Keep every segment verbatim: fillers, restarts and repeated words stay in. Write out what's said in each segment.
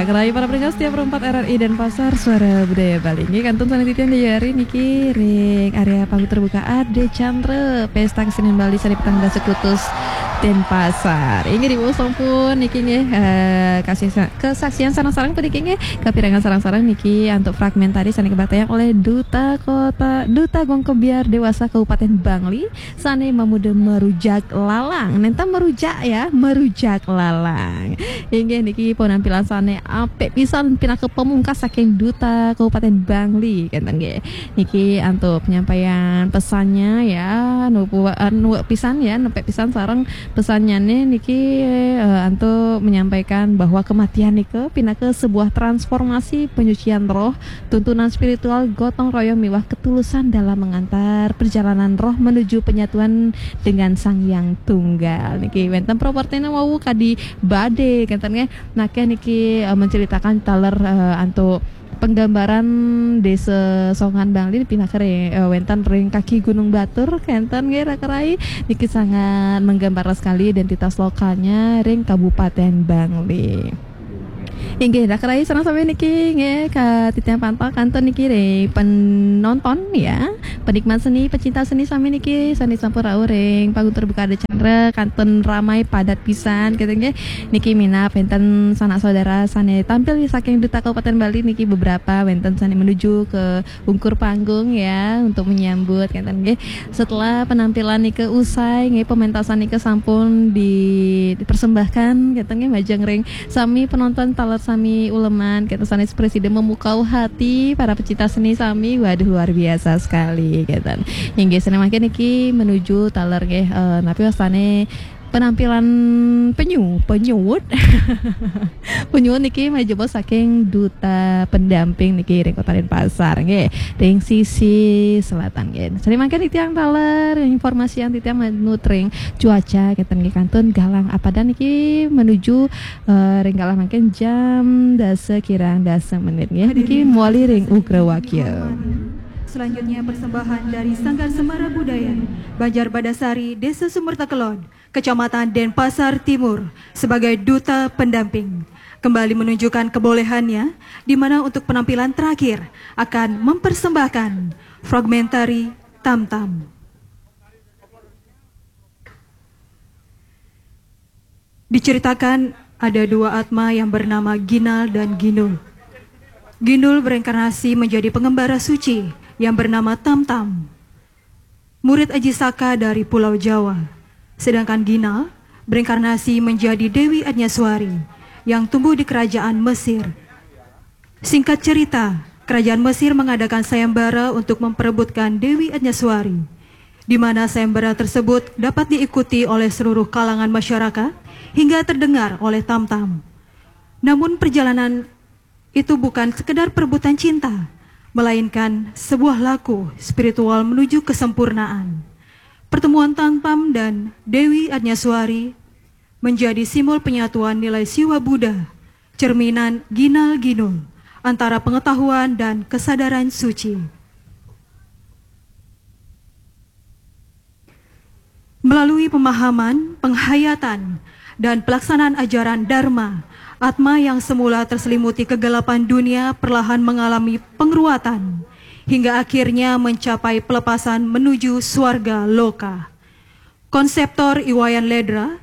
Kerayu para pendengar setia Pro empat R R I Denpasar, Suara Budaya Bali. Nggih, kantun sané titiang di hari niki ring area panggung terbuka Ade Chandra, Pesta Kesenian Bali sané petang dasa Kutus Denpasar. Inggih, diwuh sampun niki nggih, eh, kasih sa-, kesaksian sareng-sareng puniki nggih, kapirengang sareng-sareng niki antuk fragmentari sané kabaktayang oleh Duta Kota, Duta Gong Kebyar Dewasa Kabupaten Bangli, sané mamuda marujak lalang. Nénten merujak ya, marujak lalang. Inggih niki penampilan sané apik pisan pinaka pamungkas saking Duta Kabupaten Bangli, kénten nggih. Niki antuk penyampaian pesannya ya, nupu-, eh, nuwek pisan ya, nepek pisan sareng pesannyané niki, eh, antuk menyampaikan bahwa kematian nika pinaka sebuah transformasi penyucian roh, tuntunan spiritual, gotong royong miwah ketulusan dalam mengantar perjalanan roh menuju penyatuan dengan Sang Yang Tunggal. Niki wénten propertina wau kadi badé, kénten nggih. Nakéh niki, eh, menceritakan taler, eh, antuk penggambaran Desa Songan Bangli pinaka ri-, eh, wénten ring kaki Gunung Batur, kénten nggih, raka rai. Niki sangat menggambar sekali identitas lokalnya ring Kabupaten Bangli. Inggih, raka rai sareng sami niki nggih, ka titiang pantau kantun niki ring penonton ya, penikmat seni, pecinta seni sami niki sané sampun rauh ring panggung terbuka Ade Chandra, kantun ramai padat pisan gitu nggih. Niki minab wénten sanak saudara sané tampil saking Duta Kabupaten Bali niki beberapa wénten sané menuju ke ungkur panggung ya untuk menyambut, kénten nggih. Setelah penampilan nika usai nggih, pementasan nika sampun di-, dipersembahkan, kénten nggih, majeng ring sami penonton taler sami uleman, kénten sanés prasida memukau hati para pecinta seni sami. Waduh, luar biasa sekali, kénten. Inggih, sané mangkin niki menuju taler nggih, eh, napi wastané penampilan penyu, penyuwut. Penyuwut niki majeng saking Duta Pendamping niki ring Kota Denpasar nggih, ring sisi selatan nggih. Sané mangkin titiang taler informasian titiang manut ring cuaca, kénten nggih, kantun galang apadan niki menuju, eh, ring galah mangkin jam dasa kirang dasa menit nggih. Niki mawali ring Ugra Wakya. Selanjutnya persembahan dari Sanggar Semara Budaya Banjar Badasari, Desa Sumber Takelod, Kecamatan Denpasar Timur, sebagai duta pendamping, kembali menunjukkan kebolehannya, di mana untuk penampilan terakhir akan mempersembahkan fragmentari Tam Tam. Diceritakan ada dua atma yang bernama Ginal dan Gindul. Gindul bereinkarnasi menjadi pengembara suci yang bernama Tam Tam, murid Aji Saka dari Pulau Jawa. Sedangkan Ginal bereinkarnasi menjadi Dewi Adnyaswari yang tumbuh di kerajaan Mesir. Singkat cerita, kerajaan Mesir mengadakan sayembara untuk memperebutkan Dewi Adnyaswari, di mana sayembara tersebut dapat diikuti oleh seluruh kalangan masyarakat hingga terdengar oleh Tam Tam. Namun perjalanan itu bukan sekedar perebutan cinta, melainkan sebuah laku spiritual menuju kesempurnaan. Pertemuan Tam Tam dan Dewi Adnyaswari menjadi simbol penyatuan nilai Siwa Buddha, cerminan Ginal Gindul, antara pengetahuan dan kesadaran suci. Melalui pemahaman, penghayatan, dan pelaksanaan ajaran Dharma, atma yang semula terselimuti kegelapan dunia perlahan mengalami pengeruatan, hingga akhirnya mencapai pelepasan menuju swarga loka. Konseptor I Wayan Ledra,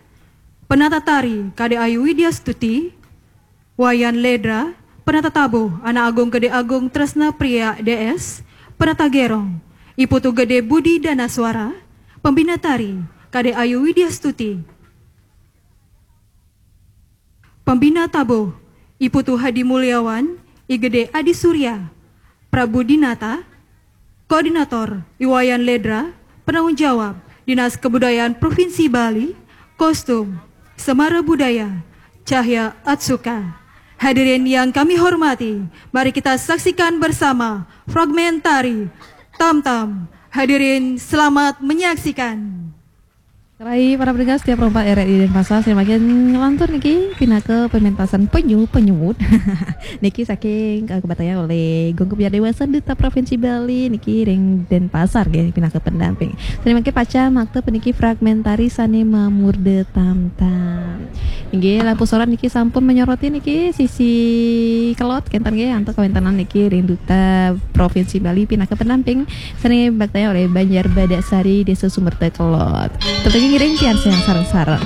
penata tari Kade Ayu Widya Stuti, Wayan Ledra, penata tabuh Anak Agung Gede Agung Tresna Priya D S, penata gerong I Putu Gede Budi Danaswara, pembina tari Kade Ayu Widya Stuti, pembina tabuh I Putu Hadi Mulyawan, I Gede Adi Surya, Prabu Dinata, Koordinator I Wayan Ledra, penanggung jawab Dinas Kebudayaan Provinsi Bali, kostum Semara Budaya Cahya Atsuka. Hadirin yang kami hormati, mari kita saksikan bersama fragmentari Tam Tam. Hadirin, selamat menyaksikan. Rai para pendengar setia Pro empat R R I Denpasar, saya makin ngelantur niki pinaka pementasan penyu penyumut. Niki saking uh, kebatayang oleh Gong Kebiar Dewasa Duta Provinsi Bali niki ring Denpasar nggih pinaka pendamping. Saya makin paca makta peniki fragmentari sane mamurda tamtam. Nggih, lampu sorot niki sampun menyoroti niki sisi kelod kenten nggih antuk kawentenan niki ring Duta Provinsi Bali pinaka pendamping sane bakta oleh Banjar Badak Sari Desa Sumerta Kelod. Tetep ngiring pian sareng-sareng.